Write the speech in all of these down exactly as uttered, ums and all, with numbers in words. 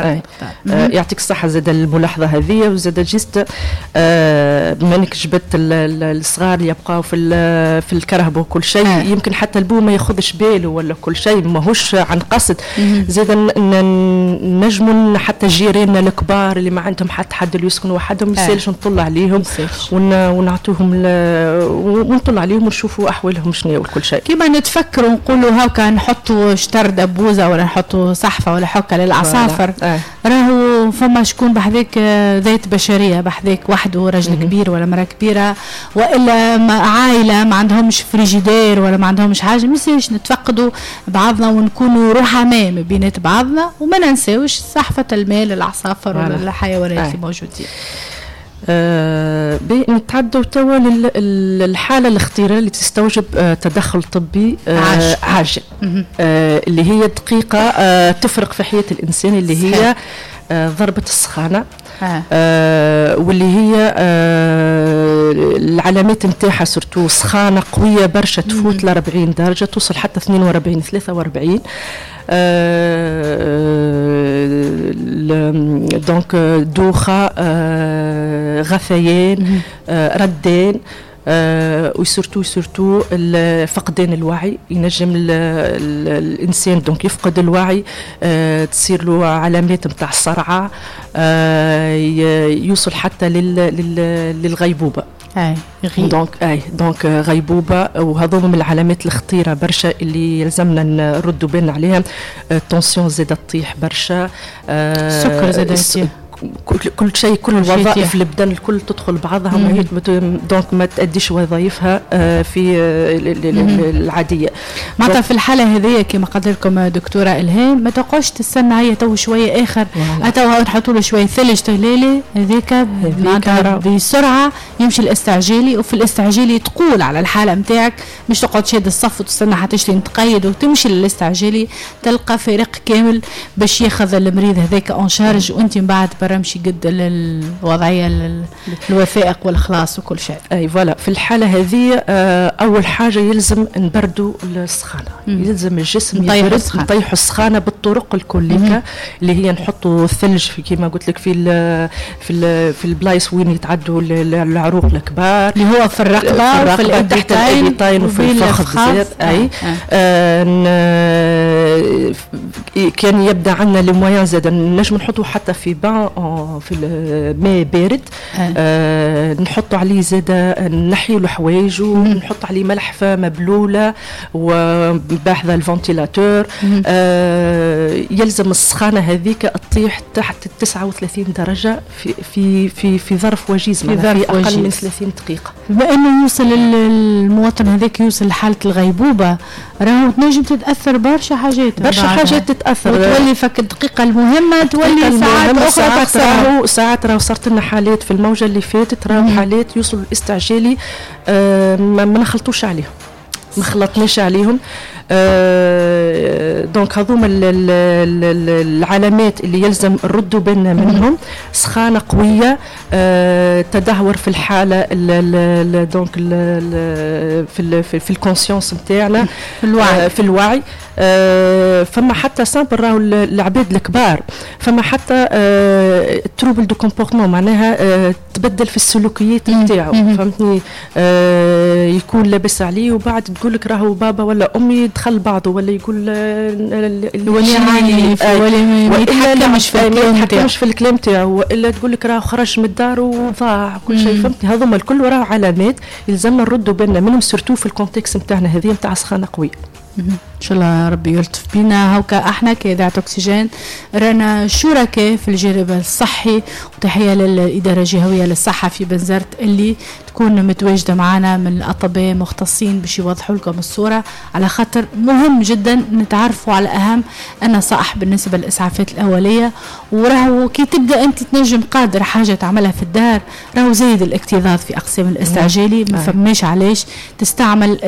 تعرف. آه يعطيك الصحة زاد الملاحظة هذه. وزاد juste آه بما انك جبت الصغار اللي يبقاو في في الكرهبه وكل شيء، آه. يمكن حتى البو ما ياخذش باله ولا كل شيء، ماهوش عن قصد. زاد نجموا حتى جيراننا الكبار اللي ما عندهم حتى حد اللي يسكنوا وحدهم، يسالش نطل عليهم ونعطوهم ونطل عليهم ونشوفوا احوالهم شنو وكل شيء. كيما نتفكروا نقولوا هاكا نحطوا شطر دبوزه ولا نحطوا صحفه ولا حكه للعصافر، آه. راهو فما شكون بحذاك ذات بشرية بحذاك وحده، رجل كبير ولا مرأة كبيرة والا عائلة ما عندهمش فريجيدير ولا ما عندهمش حاجة، ما نتفقدوا بعضنا ونكونوا رحماء ما بينات بعضنا، وما ننساوش صحفه الماء للعصافر ولا الحيوانات اللي موجودين. آه نتعدوا توا للحالة الخطيرة اللي تستوجب آه تدخل طبي آه عاجل، آه اللي هي دقيقة آه تفرق في حياة الانسان، اللي هي آه ضربه السخانه، آه. آه واللي هي آه العلامات نتاعها surtout سخانه قوية برشا تفوت ل أربعين درجه، توصل حتى اثنين وأربعين ثلاثة وأربعين. آه donc دوخه، آه غثيان، آه ردان، آه و surtout surtout فقدان الوعي. ينجم ال ال الانسان donc يفقد الوعي، آه تصير له علامات نتاع الصرعه، آه يوصل حتى لل لل للغيبوبه. اي donc اي donc غيبوبة، وهذوما من العلامات الخطيرة برشا اللي يلزمنا نردوا بالنا عليها. ال tension زادت تطيح برشا، السكر زاد يطيح، كل شيء، كل الوظائف البدن الكل تدخل بعضها، ما donc ما تأديش وظائفها في العادية. معناتها في الحالة هذه كما قلت لكم دكتورة الهام ما تقعدش تستنى هي تو شوية اخر تو نحطوا له شوية ثلج تهلالي هذيك، معناتها بسرعة يمشي الاستعجالي، وفي الاستعجالي تقول على الحالة نتاعك، مش تقعد شاد الصف وتستنى حتى تشري تقيد وتمشي للاستعجالي، تلقى فريق كامل باش ياخذ المريض هذاك en charge، وانت من بعد برمشي قد الوضعية الوثائق والخلاص وكل شيء. اي voilà في الحالة هذه اول حاجة يلزم نبردوا السخانه، يلزم الجسم يبرد، نطيحوا السخانه بالطرق الكلية اللي هي نحطوا الثلج في كما قلت لك في ال في ال في البلايص وين يتعدوا العروق الكبار اللي هو في الرقبة وفي تحت الابطين وفي الفخذ. اي آه كان يبدا عندنا les moyens زاد نجم نحطوا حتى في bain في الماء بارد، آه نحطوا عليه زاد نحيوا له حوايج ونحط عليه ملحفه مبلوله وباحذا ال ventilateur. آه يلزم السخانه هذيك تطيح تحت تسعة وثلاثين درجه في في في في ظرف وجيز، في, في اقل وجيز. من ثلاثين دقيقة. بما انه يوصل المواطن هذاك يوصل لحاله الغيبوبه، راهو تنجم تتاثر برشا حاجات، برشا حاجات تتاثر، وتولي فك الدقيقة المهمة تولي ساعات اخرى. راهو ساعات راهو صارت لنا حالات في الموجه اللي فاتت، راهو حالات يوصلوا الاستعجالي آه ما نخلطوش عليهم، ما خلطناش عليهم. آه donc هذوما العلامات اللي يلزم نردوا بالنا منهم: سخانه قوية، آه تدهور في الحالة ال donc ال في ال في ال conscience نتاعنا، في الوعي، آه في الوعي. آه فما حتى simple راهو العباد الكبار، فما حتى آه trouble de comportement، معناها آه تبدل في السلوكيات نتاعو، فهمتني؟ آه يكون لابس عليه وبعد تقول لك راهو بابا ولا امي دخل بعضه، ولا يقول ولي عنيف ولا ما يتحكمش في الكلام يتحكمش في الكلام تاعو، والا تقول لك راهو خرج من الدار وضاع كل شيء، فهمتني؟ هذوما الكل راهو علامات يلزمنا نردوا بالنا منهم، surtout في ال contexte نتاعنا هذه نتاع سخانه قوية. ان شاء الله ربي يلطف بينا. هوكا احنا كإذاعة أكسجين رانا شركاء في الجانب الصحي، وتحية للإدارة الجهوية للصحة في بنزرت اللي تكون متواجدة معنا من الأطباء مختصين باش يوضحوا لكم الصورة، على خاطر مهم جدا نتعرفوا على أهم النصائح بالنسبة للإسعافات الأولية. وراهو كي تبدأ أنت تنجم قادر حاجة تعملها في الدار، راهو زايد الاكتظاظ في أقسام الاستعجالي، ما فماش علاش تستعمل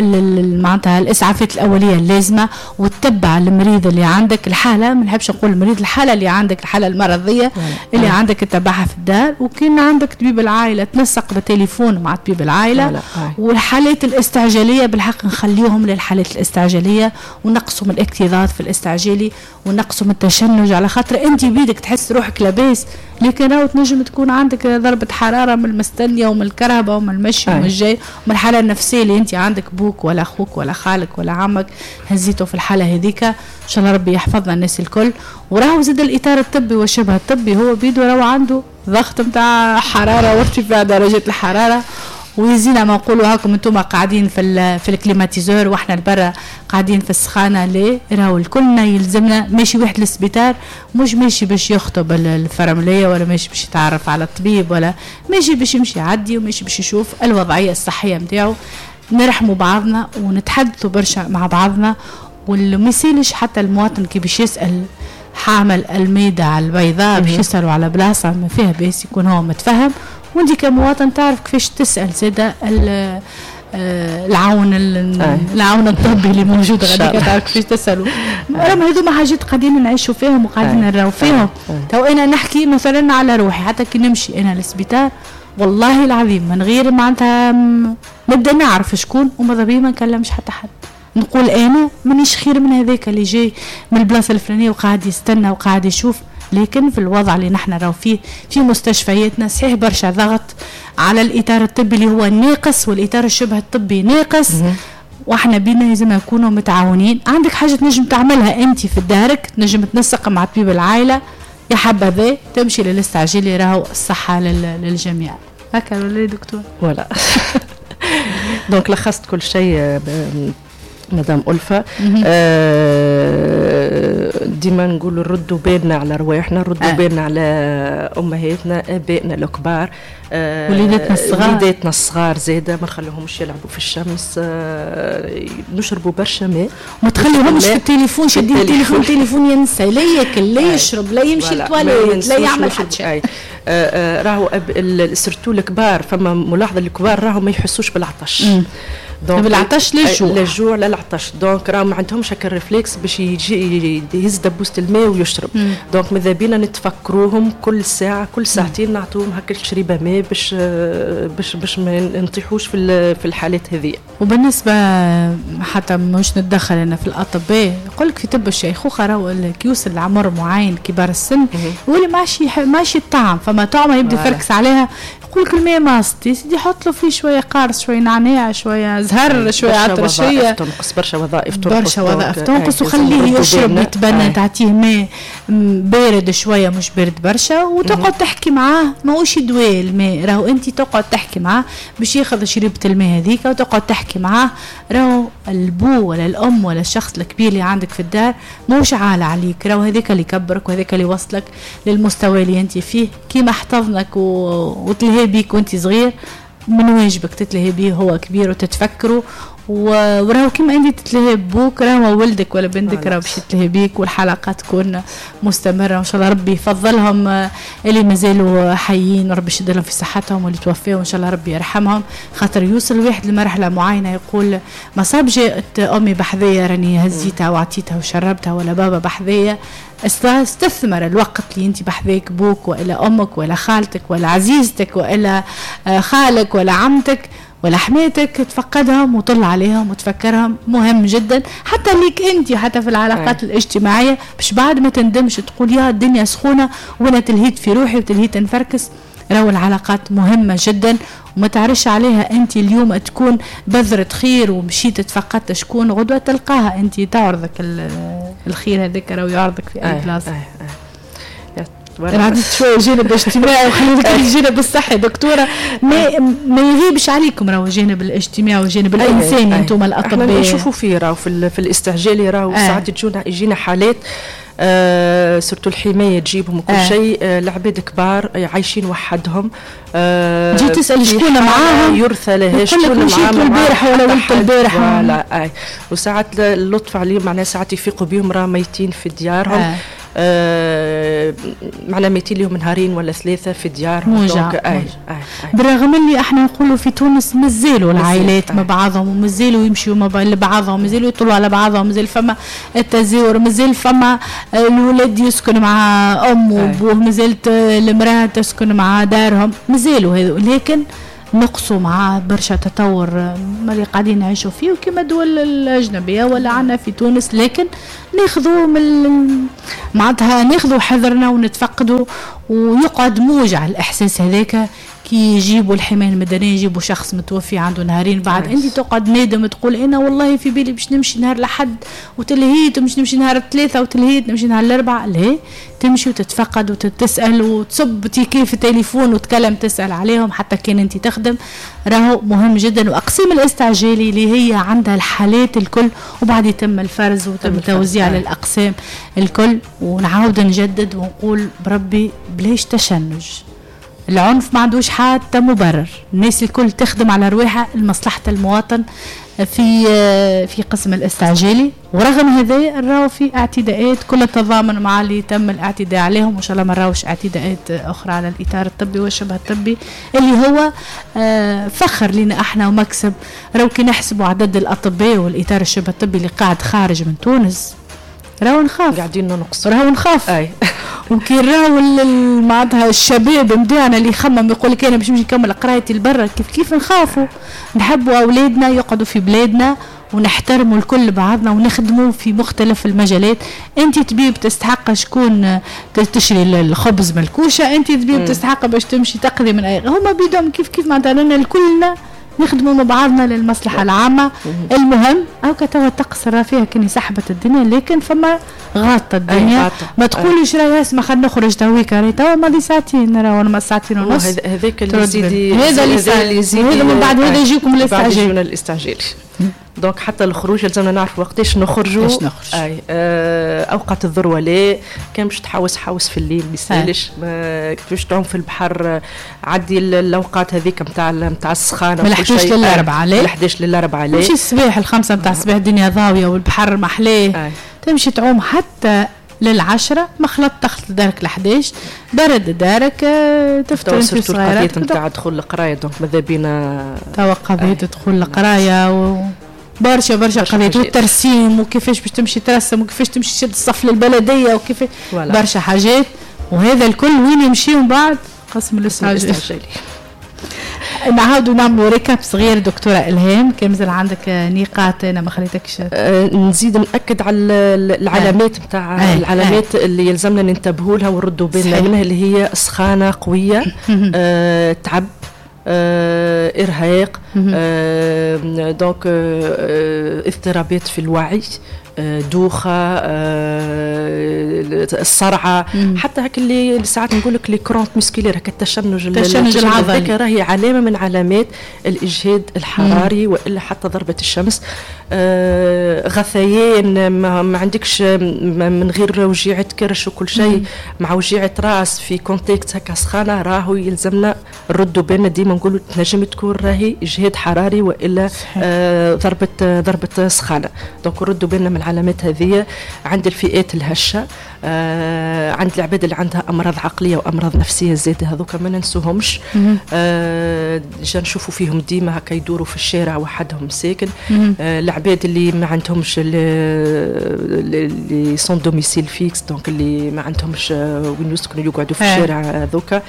معناتها الإسعافات الأولية اللازمة وتتبع المريض اللي عندك، الحالة، ما نحبش نقول المريض، الحالة اللي عندك، الحالة المرضية اللي عندك تتبعها في الدار. وكان عندك طبيب العائلة تنسق بالتليفون مع طبيب العائلة. والحالات الاستعجاليه بالحق نخليهم للحالات الاستعجاليه، ونقصوا من الاكتظاظ في الاستعجالي ونقصوا من التشنج، على خاطر انت بيدك تحس روحك لاباس، لكن راهو تنجم تكون عندك ضربه حرارة من المستنيه ومن الكهرباء ومن المشي ومن الجاي ومن الحالة النفسية اللي انت عندك بوك ولا اخوك ولا خالك ولا عمك هزيته في الحالة هذيك. ان شاء الله ربي يحفظنا الناس الكل. وراهو زاد الاطار الطبي والشبه الطبي هو بيدو راهو عنده ضغط نتاع حرارة وارتفاع درجه الحرارة، ويزينا ما نقولوا هاكم انتم قاعدين في في ال climatiseur واحنا البرا قاعدين في السخانه. ليه؟ راهو الكلنا يلزمنا ماشي واحد للسبيطار مش ماشي باش يخطب الفرمليه ولا ماشي باش يتعرف على الطبيب ولا ماشي باش يمشي يعدي وماشي باش يشوف الوضعية الصحية نتاعو. نرحموا بعضنا ونتحدثوا برشا مع بعضنا، واللي ما يسالش حتى المواطن كي باش يسال حامل الميدة على البيضاء باش يسألوا على بلاصة ما فيها باس يكون هو متفهم، وانت كمواطن تعرف كيفاش تسأل زادة العون العون الطبي اللي موجود غاديك تعرف كيفاش تسألوا. راهم هذوما حاجات قاعدين نعيشوا فيهم وقاعدين نراو فيهم. تو انا نحكي مثلا على روحي، حتى كي نمشي انا للسبيطار والله العظيم من غير معناتها نبدا نعرف شكون، وماذا بيا ما نكلمش حتى حد، نقول انا مانيش خير من هذاك اللي جاي من البلاصة الفلانية وقاعد يستنى وقاعد يشوف. لكن في الوضع اللي نحن راهو فيه في مستشفياتنا صحيح برشا ضغط على الاطار الطبي اللي هو ناقص، والاطار الشبه الطبي ناقص، واحنا بينا لازم نكونوا متعاونين. عندك حاجة تنجم تعملها انت في دارك، تنجم تنسق مع طبيب العائلة، يا حبذا تمشي للاستعجالي، راهو الصحة للجميع. هكا ولا دكتور؟ voilà donc لخصت كل شيء مدام ألفة. آه ديما نقولوا ردوا بالنا على رواحنا، ردوا آه. بالنا على أمهاتنا، آبائنا الكبار، آه وليداتنا الصغار، وليداتنا الصغار زاده ما نخليهمش يلعبوا في الشمس، آه نشربوا برشا ماء، ما تخليهمش في التليفون، شادين التليفون تليفون ينسى، لا ياكل لا يشرب لا يمشي للتواليت لا يعمل حتى شيء. راهو surtout الكبار، فما ملاحظة الكبار راهو ما يحسوش بالعطش، donc بالعطش لا الجوع، لا الجوع لا العطش، donc راه ما عندهمش هكا ال réflexe باش يجي يهز دبوسه الماء ويشرب. donc ماذا بينا نتفكروهم كل ساعة كل ساعتين نعطوهم هكا شريبه ماء باش باش باش ما نطيحوش في في الحالات هذه. وبالنسبة حتى مش نتدخل انا في الاطباء، يقول لك في طب الشيخوخة راهو كي يوصل لعمر معين كبار السن يولي ماشي ماشي الطعم، فما طعمه يبدا يفركس عليها، يقول لك الماء ماست يا سيدي حط له فيه شوية قارص شوية نعناع شوية زهر شوية عطرشيه، تنقص برشا وظائف، تنقص برشا وظائف تنقص، وخليه يشرب يتبنى، تعطيه ماء بارد شوية مش بارد برشا، وتقعد تحكي معاه، ماهوش دواء الماء، راهو انت تقعد تحكي معاه باش ياخذ شريبه الماء هذيك، وتقعد تحكي معاه. راهو البو ولا الام ولا الشخص الكبير اللي عندك في الدار ماهوش عالة عليك، راهو هذاك اللي كبرك وهذاك اللي وصلك للمستوى اللي انت فيه، كيما احتضنك و... وتلهي بيك وانت صغير، من واجبك تتلهي بيه هو كبير وتتفكره، وراهو كيما انت تتلهي ببوك راهو ولدك ولا بنتك راهو باش يتلهي بيك، والحلقة تكون مستمرة وان شاء الله ربي يفضلهم اللي مازالوا حيين وربي يشد لهم في صحتهم، واللي توفاوا ان شاء الله ربي يرحمهم. خاطر يوصل واحد لمرحلة معينة يقول ما صاب جاءت امي بحذايا راني هزيتها وعطيتها وشربتها، ولا بابا بحذايا. استثمر الوقت اللي انت بحذاك بوك والا امك ولا خالتك ولا عزيزتك والا خالك ولا عمتك ولا حماتك، تفقدهم وطل عليهم وتفكرهم، مهم جدا حتى ليك انت، حتى في العلاقات أي. الاجتماعية، باش بعد ما تندمش تقول يا الدنيا سخونة وانا تلهيت في روحي وتلهيت نفركس. راهو العلاقات مهمة جدا وما تعرفش عليها انت اليوم تكون بذرة خير ومشيت تفقدت شكون، غدوه تلقاها انت تعرضك الخير هذاك راهو يعرضك في اي بلاصة. انا عندي شوية جانب اجتماعي وخلينا لك الجانب الصحي دكتورة، ما ما يغيبش عليكم راهو الجانب الاجتماعي والجانب الانساني انتم الاطباء. احنا نشوفوا فيه راهو في, في الاستعجالي راهو ساعات تجونا يجينا حالات آه surtout الحماية تجيبهم وكل آه. شيء، آه العباد كبار عايشين وحدهم، آه تجي تسال شكون معاهم يرثى لها شكون معاهم البارح ولا ولد البارح ولا آه. وساعات اللطف عليهم معناها ساعات يفيقوا بهم راه ميتين في ديارهم، آه. آه معنا ميتين لهم نهارين ولا ثلاثة في ديارهم. موجع. آه آه آه. بالرغم اللي احنا نقولوا في تونس مازالوا العائلات مع بعضهم ومازالوا يمشيوا مع بعضهم، مازالوا يطلعوا على بعضهم، مازال فما التزاور، مازال فما الولد يسكن مع امه وابوه، مازالت المراة تسكن مع دارهم، مازالوا هذو. لكن نقصوا مع برشا تطور ما اللي قاعدين نعيشوا فيه وكما الدول الاجنبية ولا عندنا في تونس، لكن ناخذوا من معناتها ناخذوا حذرنا ونتفقدوا، ويقعد موجع الاحساس هذاك كي يجيبوا الحماية المدنية يجيبوا شخص متوفي عنده نهارين بعد انت تقعد نادم تقول انا والله في بالي باش نمشي نهار لحد وتلهيت ومش نمشي نهار الثلاثة وتلهيت نمشي نهار الاربعاء. لا، تمشي وتتفقد وتتسال وتصب ticket في التليفون وتكلم تسال عليهم حتى كان انت تخدم، راهو مهم جدا. واقسام الاستعجالي اللي هي عندها الحالات الكل، وبعد يتم الفرز وتم التوزيع للاقسام الكل. ونعاود نجدد ونقول بربي بلاش تشنج، العنف ما عندوش حتى مبرر، الناس الكل تخدم على رواحها لمصلحة المواطن في في قسم الاستعجالي. ورغم هذا نراو في اعتداءات، كل التضامن مع اللي تم الاعتداء عليهم، وان شاء الله ما نراوش اعتداءات اخرى على الاطار الطبي والشبه الطبي اللي هو فخر لنا احنا ومكسب. راو كي نحسبوا عدد الاطباء والاطار الشبه الطبي اللي قاعد خارج من تونس راهو نخاف، قاعدين ننقص، راهو نخاف. اي وكي راهو معناتها الشباب نتاعنا اللي يخمم يقول لك انا باش نمشي نكمل قرايتي لبرا، كيف كيف نخافوا. نحبوا اولادنا يقعدوا في بلادنا ونحترموا الكل بعضنا ونخدموا في مختلف المجالات. انت طبيب تستحق شكون تشري الخبز من الكوشة، انت طبيب تستحق باش تمشي تقضي من اي، هما بيدهم كيف كيف معناتها لنا الكلنا نخدموا مع بعضنا للمصلحة العامة. المهم هاكا توا الطقس راه فيها كني سحبت الدنيا، لكن فما غاطة الدنيا. ما تقوليش راهي اسمع خلينا نخرج تويكا، راهي توا ماضي ساعتين، راهو ما ساعتين ونص. هذاك اللي يزيد، هذا اللي يزيد، هذا من بعد هذا يجيكم الاستعجال، الاستعجال. donc حتى الخروج لازمنا نعرف وقتاش نخرجوا. اي آه اوقات الذروة لا، كان باش تحوس حوس في الليل ما يسالش، كيفاش تعوم في البحر عدي الاوقات هذيك نتاع نتاع السخانه من احداش للأربعة، لا من احداش للأربعة لا تمشي الصباح الخمسة نتاع الصباح الدنيا ضاويه والبحر محلاه، تمشي تعوم حتى للعشرة، ما خلطت تخلط دارك لحداش، برد دارك تفطر انت صغيرة. قضية نتاع دخول القراية donc ماذا بينا توا قضية دخول القراية و برشا برشا قضية والترسيم وكيفاش باش تمشي ترسم وكيفاش تمشي تشد الصف للبلدية وكيفاش برشا حاجات، وهذا الكل وين يمشي من بعد قسم الاستعجالي. نعاودوا نعملوا récap صغير دكتورة إلهام، كان مازال عندك نقاط أنا ما خليتكش. أه نزيد نأكد على العلامات نتاع العلامات أه. اللي يلزمنا ننتبهوا لها ونردوا بالنا منها، اللي هي سخانة قوية، أه تعب، آه، إرهاق، آه، donc آه، اضطرابات في الوعي، آه، دوخة، آه، الصرعة، حتى هاك اللي ساعات نقول لك les crampes musculaires، هكا التشنج التشنج العضلي راهي علامة من علامات الإجهاد الحراري وإلا حتى ضربة الشمس. آه، غثيان، ما, ما عندكش من غير وجيعة كرش وكل شيء، مع وجيعة راس في contexte هكا سخانة، راهو يلزمنا نردوا بالنا ديما نقولوا تنجم تكون راهي إجهاد حراري وإلا آه ضربة ضربة سخانة. donc نردوا بالنا من العلامات هذه عند الفئات الهشة، آه عند العباد اللي عندها أمراض عقلية وأمراض نفسية زادة، هذوك ما ننسوهمش. آه جا نشوفوا فيهم ديما هكا يدوروا في الشارع وحدهم ساكن. آه العباد اللي ما عندهمش اللي sans domicile fixe، donc اللي ما عندهمش وين يسكنوا يقعدوا في الشارع هذوك.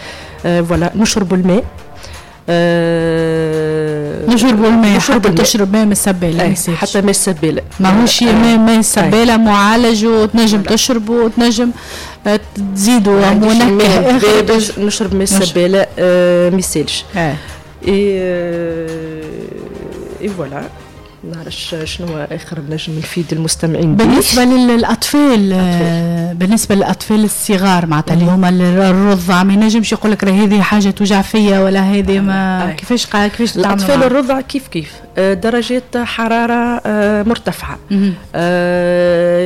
آه voilà نشربوا الماء، أه نشربوا الماء، حتى تشرب ماء من السبالة، حتى من السبالة ماهوش ماء من السبالة معالج وتنجم تشربه وتنجم تزيدوا منكه. نشرب ماء السبالة ما يسالش. اي اي voilà نعرفش شنو اخر نجم نفيد المستمعين. بالنسبة للاطفال، بالنسبة للاطفال الصغار معناتها اللي هما الرضع، ما ينجمش يقول لك راه هذه حاجة توجع فيا ولا هذه ما كيفاش كيفاش الاطفال الرضع كيف كيف درجات حرارة مرتفعة،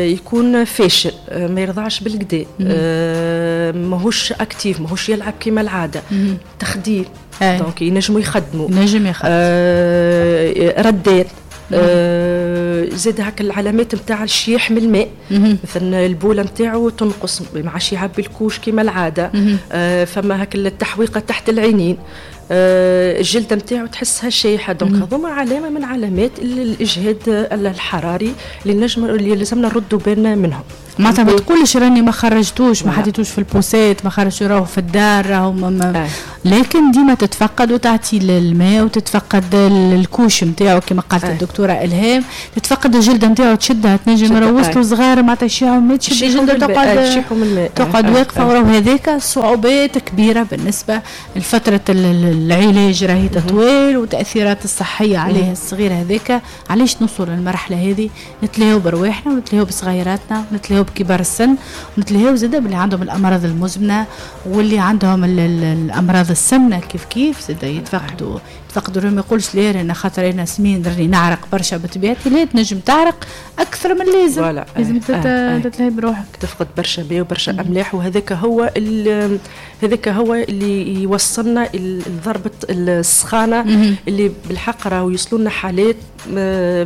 يكون فاشل، ما يرضعش بالكدا، ماهوش actif، ماهوش يلعب كما العادة، تخدير، donc ينجموا يخدموا، نجم يخدم، ردات، آه زاد هاك العلامات نتاع الشيح من الماء، مثلا البوله نتاعو تنقص، ما عادش يعبي ال couche كما العادة، آه فما هاك التحويقه تحت العينين، آه الجلدة نتاعو تحسها شايحه. donc هذوما علامة من علامات الاجهاد الحراري اللي نجم اللي لازمنا نردوا بالنا منهم. معناتها ما تقولش راني ما خرجتوش، ما حطيتوش في ال poussette، ما خرجتوش، راهو في الدار، راهو ما... لكن ديما تتفقد وتعطي الماء وتتفقد ال couche نتاعو كما قالت الدكتورة الهام، تتفقد الجلدة نتاعو تشدها، تنجم روستو صغار معناتها يشيعوا ما تشد الجلدة تقعد تقعد واقفة، وراهو هذاك صعوبات كبيرة بالنسبة لفترة العلاج راهي تطويل وتاثيرات الصحية عليه الصغير هذاك. علاش نوصل للمرحلة هذه؟ نتلاهوا برواحنا ونتلاهوا بصغيراتنا ونتلاهوا بكبار السن ونتلاهوا زاده باللي عندهم الامراض المزمنة واللي عندهم الامراض السمنة كيف كيف زاده يتفقدوا يتفقدوا. ما يقولش ليه انا خاطر انا سمين راني نعرق برشا بطبيعتي، لا تنجم تعرق اكثر من اللازم، لازم تتلهي بروحك، تفقد برشا ماء وبرشا املاح، وهذاك هو هذاك هو اللي يوصلنا لضربه السخانه اللي بالحق راهو يوصلوا لنا حالات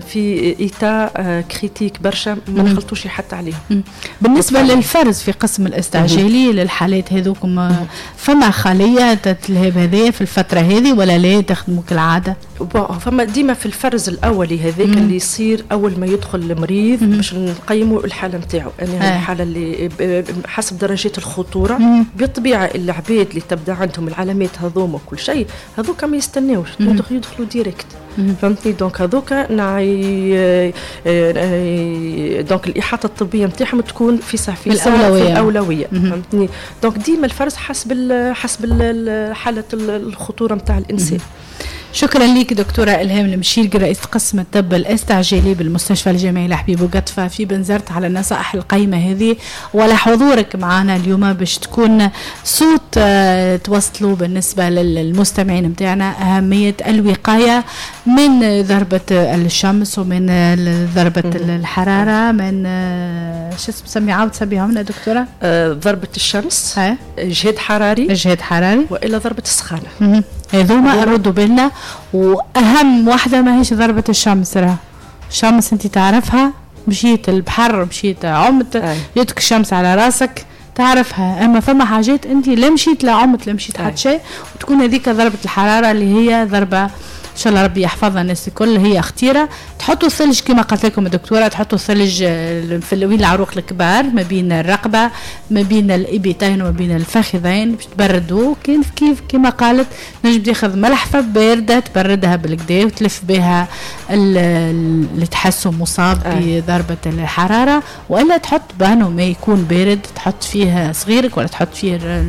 في état critique برشا ما نخلطوش حتى عليهم. بالنسبة للفرز في قسم الاستعجالي للحالات هذوكم، فما خليه تتلهب هذه في الفترة هذه ولا لا تخدموا كالعادة؟ فما ديما في الفرز الاولي هذاك اللي يصير اول ما يدخل المريض باش نقيموا الحالة نتاعو، يعني آه. الحالة اللي حسب درجات الخطورة. مم. بالطبيعة العباد اللي تبدا عندهم العلامات هذوما وكل شيء هذوك ما يستناوش، يدخلوا direct، فهمتني؟ donc هذوك نعي donc الاحاطة الطبية نتاعهم تكون في صح في الاولوية, الأولوية. فهمتني؟ donc ديما الفرز حسب حسب حاله الخطورة نتاع الانسان. شكرا لك دكتورة إلهام المشيرق، رئيسة قسم الطب الاستعجالي بالمستشفى الجامعي لحبيب بوقطفة في بنزرت، على النصائح القيمة هذه وعلى حضورك معنا اليوم باش تكون صوت توصلوا بالنسبة للمستمعين متاعنا أهمية الوقاية من ضربة الشمس ومن ضربة الحرارة، من شو اسمه عاود سميها لنا دكتورة؟ ضربة الشمس، إجهاد حراري، إجهاد حراري، وإلى ضربة السخانة. هذوما ردوا بالنا، واهم واحدة ماهيش ضربه الشمس، راه الشمس انت تعرفها، مشيت البحر، مشيت عمت، جاتك الشمس على راسك تعرفها، اما فما حاجات انت لا مشيت لا عمت لا مشيت حتى شيء، وتكون هذيك ضربه الحرارة اللي هي ضربه ان شاء الله ربي يحفظها الناس الكل، هي خطيرة. تحطوا الثلج كما قالت لكم الدكتورة، تحطوا الثلج في وين العروق الكبار ما بين الرقبة ما بين الابيتين وما بين الفخذين باش تبردوا. كيف كيف كما قالت نجم تاخذ ملحفه باردة تبردها بالكدا وتلف بها اللي تحسه مصاب بضربه الحرارة، والا تحط بانو ما يكون بارد تحط فيه صغيرك ولا تحط فيه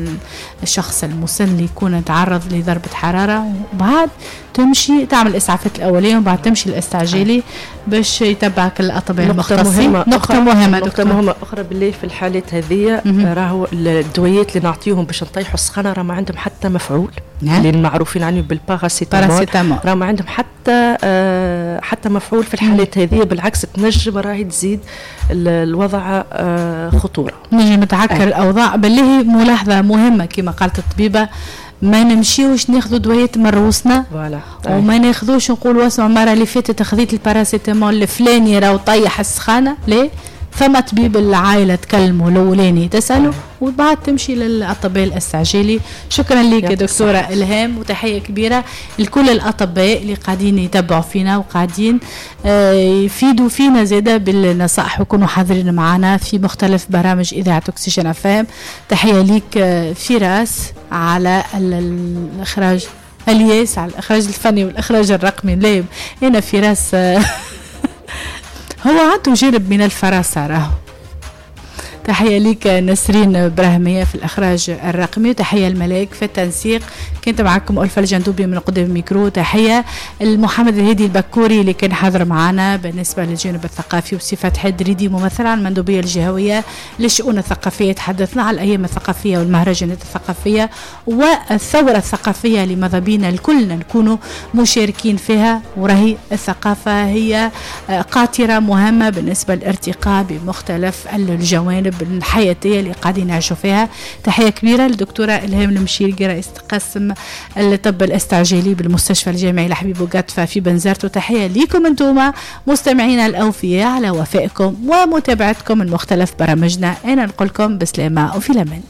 الشخص المسن اللي يكون تعرض لضربه حرارة، وبعد تمشي تعمل الاسعافات الاولية وبعد تمشي الاستعجالي باش يتبعك الاطباء المختصين. نقطة مهمة نقطة مهمة اخرى بالله في الحالات هذه، راهو الدويات اللي نعطيهم باش نطيحوا السخانه راه ما عندهم حتى مفعول، اللي معروفين عنه بالباراسيتامول، راه ما عندهم حتى آه حتى مفعول في الحالات هذه، بالعكس تنجم راهي تزيد الوضع آه خطورة، نجم تعكر الاوضاع. بالله ملاحظة مهمة كما قالت الطبيبة، ما نمشيوش ناخذوا دويات من روسنا، وما ناخذوش نقولوا اسمع المرة اللي فاتت خذيت الباراسيتامول الفلاني راهو طيح السخانه، ليه؟ فما طبيب العائلة تكلموا الاولاني تساله وبعد تمشي للاطباء الاستعجالي. شكرا لك يا دكتورة الهام، وتحية كبيرة لكل الاطباء اللي قاعدين يتبعوا فينا وقاعدين يفيدوا فينا زاده بالنصائح ويكونوا حاضرين معنا في مختلف برامج اذاعة اكسجين اف ام. تحية لك فراس على الاخراج، الياس على الاخراج الفني والاخراج الرقمي. لا هنا فراس هو عنده جانب من الفراسة راهو. تحية ليك نسرين براهمية في الإخراج الرقمي، وتحية الملاك في التنسيق. كنت معكم ألفة الجندوبي من قدام الميكرو. تحية المحمد الهادي البكوري اللي كان حاضر معنا بالنسبة للجانب الثقافي، وصفات حدريدي ممثل عن المندوبية الجهوية للشؤون الثقافية. تحدثنا على الأيام الثقافية والمهرجانات الثقافية والثورة الثقافية اللي ماذا بينا الكلنا نكونوا مشاركين فيها، وراهي الثقافة هي قاطرة مهمة بالنسبة للارتقاء بمختلف الجوانب الحياتية اللي قاعدين نعيشوا فيها. تحية كبيرة للدكتورة إلهام المشيرقي رئيسة قسم الطب الاستعجالي بالمستشفى الجامعي لحبيب بوقطفة في بنزرت، وتحية لكم انتم مستمعينا الأوفياء على وفائكم ومتابعتكم المختلف برامجنا. أنا نقول لكم بسلامة وفي الأمان.